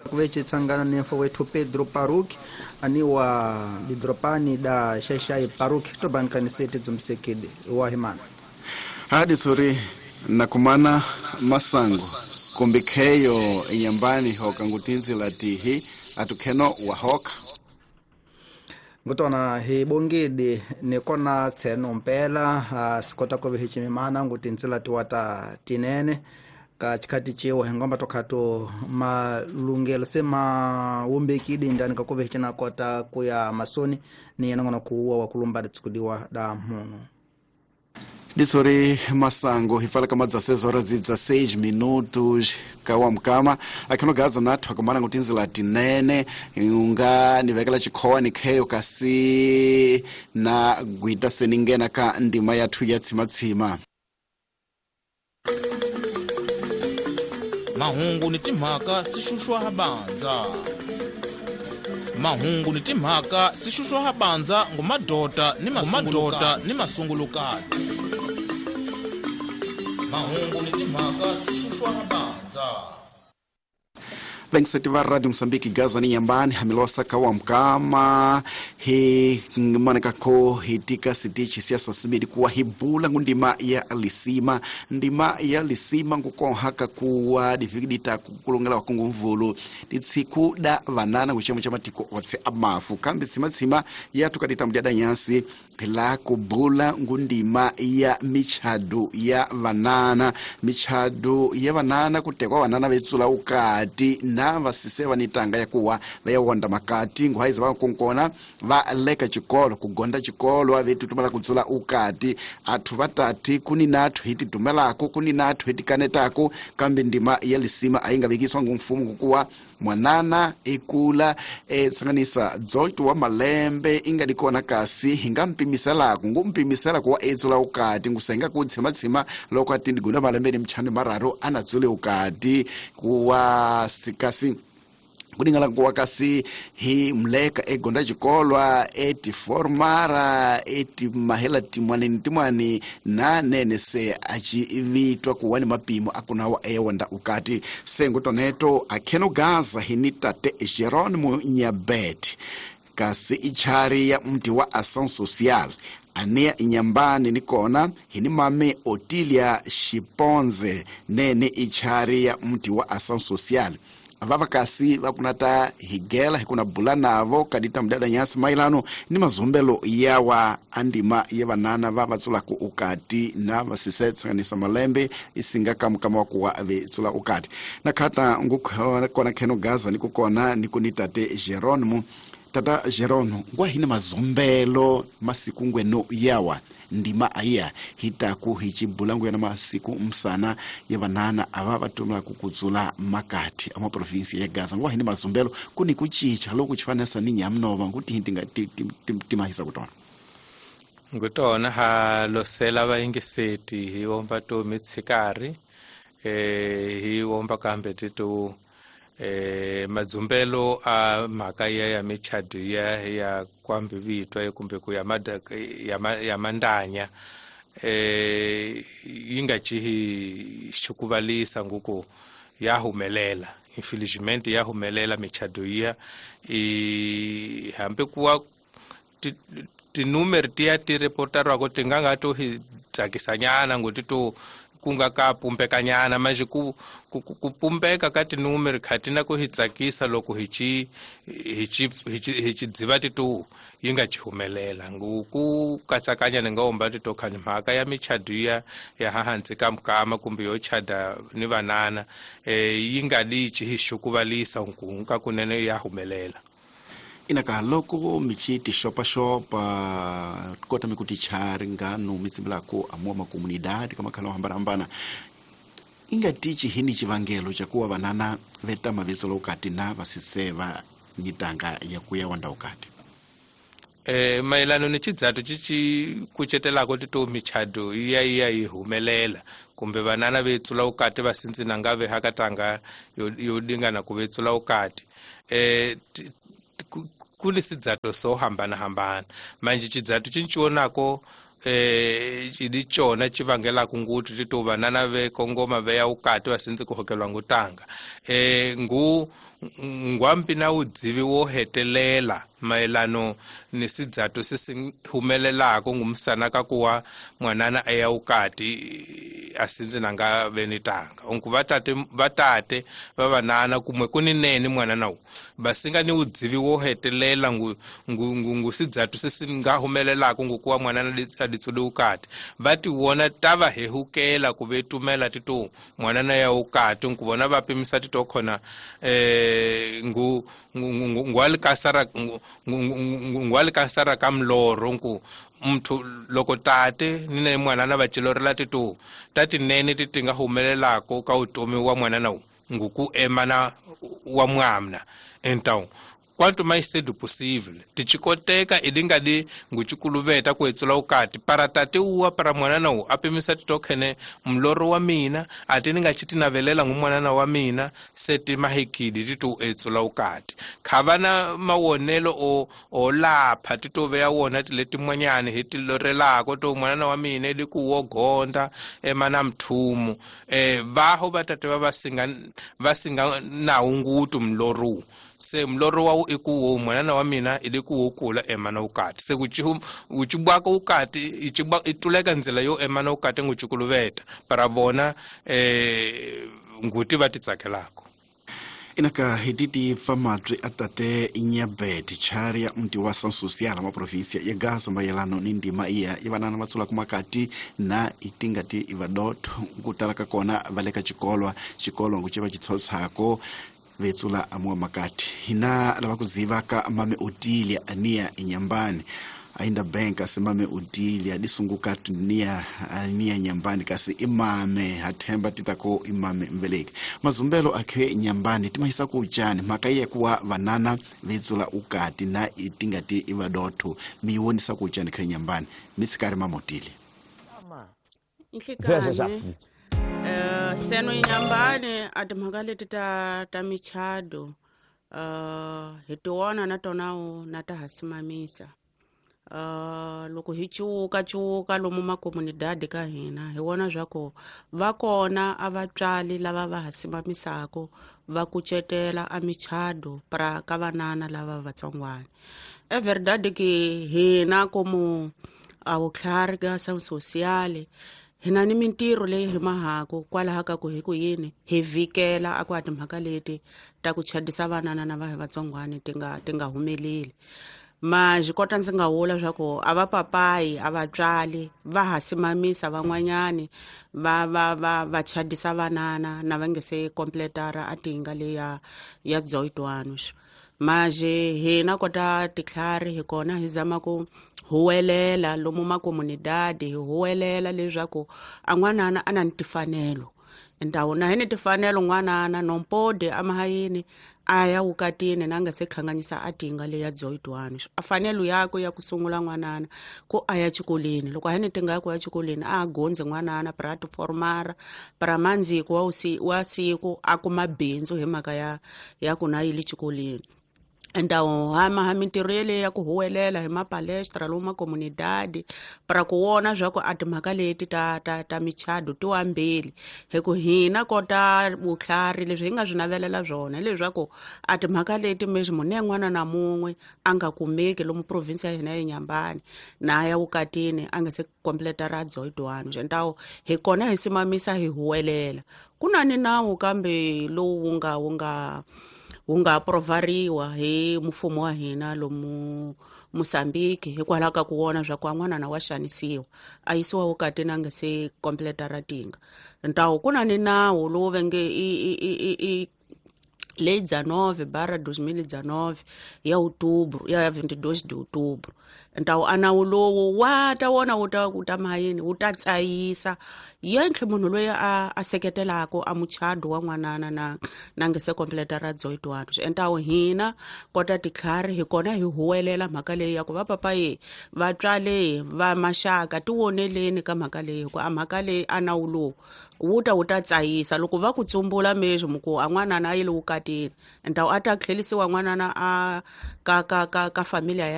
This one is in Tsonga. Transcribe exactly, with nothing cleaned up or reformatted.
Kuveche tsangana ni mfo wetu Pedro Paruk aniwa didropani da Xaixai Paruk tobankanisete dzumsekede wahimana hadi sori nakumana masango kumbikheyo inyambani hoka ngutinzila tihi atukheno wahoka ngutona hi bongidi nikona tseno mpela uh, sikota kove hichimimana ngutinzila tiwata tinene ka chikati chiwo hengomba tokhato malungelo se mawumbekidi ndani kakove hichina kota kuya masoni ni yanangona kuwa wakulumba ditsukudiwa da munu disori masango hifala kama dezesseis horas e dezesseis minutos kawa mkama akhino gaza nathu akumana ngutinzila tinene unga nivekela chikhowa nikheyo kasi na gwita seningena ka ndima yathu ya tsimatsima mahungu ni timhaka sixuxwa habanza mahungu ni timhaka sixuxwa habanza ngumadota ni madota ni masungulukati mahungu ni timhaka sixuxwa habanza venseti va Radio Mozambique Gaza ni nyambani hamilosa kawa mkama hi maneka ko hitika sitichi siasa simidi kuwa hibula ngundima ya lisima ndima ya lisima ngukonhaka kuwa difikidita kukulongela wakungu mvulu ditsiku da vanana kuchemo cha matiko otse amafu kambi tsimatsima yatukadita mdyada nyasi la kubula ngundima ya michado ya vanana michado ya vanana kutekwa vanana vetsula ukati na vasise vanitanga yakuwa vayawonda makati nguhaiza vakunkona va leka chikolo kugonda chikolo avetutumala kutsula ukati athu vatati kuni nathu hititumelako kuni nathu hitikanetako kambi ndima ya lisima aingavikiswa ngumfumo kukuwa mwanana ikula e, tsanganisa dzoito wa malembe ingadikona kasi hingampimiselako ngumpimisela kuwa etsula ukati ngusenga kutsimatsima loko atindigunda malembe ni mchano mararu anatsule ukati kuwa sikasi kudingala kuwa kasi hi mleka egonda chikolwa eti formara eti mahela timwani timwani na nene se achivitwa kuwa ni mapimo akunawa ewanda ukati sengo toneto akheno gaza hini tate Jerónimo Nyabet kasi ichari ya mti wa Ação Social ania inyambani nikona hini mame Otilia Shiponze nene ichari ya mti wa Ação Social vavakasi vakunata higela hikuna bula navo kadita mdada nyasi mailano ni mazumbelo yawa andima ya vanana va vatsulaku ukati na vasise tsanganisa malembe isinga kamukama wakuwa vetsula ukati na khata ngukona kheno gaza nikukona nikunitate Jerónimo tata Jerónimo ngwa hini mazumbelo masiku ngweno yawa ndima aya hitaku hichibula yana masiku msana ya vanana ava vatumila kukudzula makati ama provinsi ya Gaza ngwa hini mazumbelo kuni kuchicha loku chifanesa ni nyamnova nguti hintinga timahisa kutona ngutona ha losela vaingiseti hi omba to mitsikari eh hi omba kambe titu eh madzumbelo a mhaka ya ya michado ya ya kwambivitwa kumbe ku ya ya ya mandanya eh yi nga chihi xukuvalisa nguku ya humelela infelizmente ya humelela michado ya i hambi kuwa tinumeri tiya ti reportarwako ti nga nga to hi tsakisanyana ngoti to kunga ka pumbekanyana manje ku ku pumbeka ka tinumeri khatina ku hi tsakisa loko hi chi hi chi hi chi dziva titu yi nga chi humelela nguku katsakanya ni nga omba tito khani mhaka ya michado ya ya hansi ka mukama kumbe yo chada ni vanana eh yi nga li chi hi xukuvalisa nkunka kunene ya humelela inaka loko michi tixopaxopa kota mikutichari ngano mitsimbilako amua makomunidade kama khala hambana-hambana inga tichi hini chivangelo chakuwa vanana vetama vetsolo ukati na vasise va nitanga ya kuya wanda ukati eh mayelano ni chidzatu chichi kucetelako tito michado iya iya yi humelela kumbe vanana vetsula ukati vasintsina nga ve hakatanga yo, yo dingana ku vetsula ukati eh kuli sidzato so hambana hambana manje chidzatu chinchionako eh chilichona chivangela kunguti tito vanana ve kongoma ve ya ukati vasinzi kuhokelwa ngutanga eh ngu ngwambi na udzivi wo hetelela mayelano ni sidzato se humelelako ngumusana ka kuwa mwanana aya ukati asinze nanga venitanga onku vatate vatate vavanana kumwe kuni nene mwanana basinga ni udzivi wo hetelela ngu ngu ngu sidzato se nga humelelako ngukuwa mwanana aditsule ukati vati wona tava hehukela kuvetumela tito mwanana ya ukati nkuvona vapimisa tito khona eh ngu ngwalikasara ngwalikasara ka mloro nku mthu loko tate ni ne mwanana va cilorela tito tati nene ti nga humelelako ka utomi wa mwanana nguku emana wa mwamna então quanto mais cedo possível tichikoteka idingadi nguchikuluveta kuetsula ukati para tate uwa para mwanana u apimisa titokhene mloro wa mina ati ni nga chitinavelela ngumwanana wa mina seti mahikidi titu etsula ukati khavana mawonelo o olapha titoveya wona tiletimwanyani hi tilorelako to mwanana wa mina ili kuwogonda emana mthumu eh vaho vatate va vasinga vasinga nawu ngutu mloro se mloro wa ikuwo mwanana wa mina ilikuwo kula emana ukati se kuchihu uchibwaka ukati ichibwa ituleka nzela yo emana ukati nguchikuluveta para vona eh nguti vatitsakelako inaka hititi famatri atate inyabeti charia mti wa San Social ma provincia ya Gaza mayelano ni ndima iya ivanana vatsula kumakati na itingati ivadotho kutalaka kona valeka chikolwa chikolwa nguchiva chitshotsako vetsula amwa makati hina lava kuziva ka mame Otilia ania inyambani ainda bank asimame Otilia disunguka nia ania nyambani kasi imame hathemba titako imame mbeleki mazumbelo akhe nyambani timahisa kuchani makaye kuwa vanana vetsula ukati na itingati ivadotho miwonisa kuchani khe nyambani mitsikari mamotili Inhlikane Uh, seno inyambani a timhaka leti ta ta michado uh, hi tiwona na tona na ta hasimamisa uh, loko hi cuka cuka lomu makomunidadi ka hina hi vona swa ku va kona a vatswali lava va hasimamisako va kucetela a michado pra ka vanana lava vatsongwana e verdade ke hina komu a vutlhari ka San Social hina ni mintirho leyi hi mahako kwalaha ka ku hi ku yini hi vikela a ku a timhaka leti ta ku chadisa vanana na va hi vatsongwana ti nga ti nga humeleli ma xi kota ndzi nga vula swa ku a va papayi a vatswali va ha simamisa van'wanyani va va va va chadisa vanana na va nge se completara a tinga leya ya dzoitwano maje hina kota titlhari hi kona hi zama ku huwelela lomu makomunidadi hi huwelela leswaku a n'wanana a na ni tifanelo ndhawu na hi ni tifanelo n'wanana nompode amahayini a ya wukatini na nga se khanganyisa a tinga leya dzoitwano a fanelo yakwe ya ku sungula n'wanana ku a ya xikolweni loko a hi ni tinga ya ku ya xikolweni a gondze n'wanana pra tiformara pra mandziko wa wa siku a kuma bindzu hi mhaka ya ya ku na yile xikolweni Ndawo hama ha mintirho yeleyo ya ku huwelela hi mapalestra lomu makomunidadi para ku vona swa ku a timhaka leti ta ta ta michado ti wambili hi ku hina kota vutlhari leswi hi nga swi navelela swona hileswaku a timhaka leti meswi munhu yan'wana na mun'we a nga kumeki lomu province ya hina ya Nyambani na ya vukatini a nga se completa ra dzoidwano xentawo hi kona hi simamisa hi huwelela ku na ni nawu kambe lowu wu nga wu nga wu nga aprovariwa hi mfumo wa hina lomu Mozambique hikwalaho ka ku vona swa ku n'wana wa xanisiwa a yisiwa vukatini a nga se completa ra tinga ntawo ku na ni nawu lowu va nge i i i i lei dezenove barra dois mil e dezenove ya outubro ya vinte e dois de outubro ntawo a nawu lowu wa ta wona wu ta wu ta mayini wu ta tsayisa yentlhe munhu loyi a a seketelaka a muchado wa n'wanana na na nga se completa ra dzoitwano ntawo hina kota titlhari hi kona hi huwelela mhaka leyi ya ku va papayi vatswale va maxaka ti voneleni ka mhaka leyi ku a mhaka leyi a nawu lowu wu ta wu ta tsayisa loko va ku tsumbula meswi muku a n'wanana a yile vukatini ntawo a ta tlhelisiwa n'wanana a ka ka ka ka familia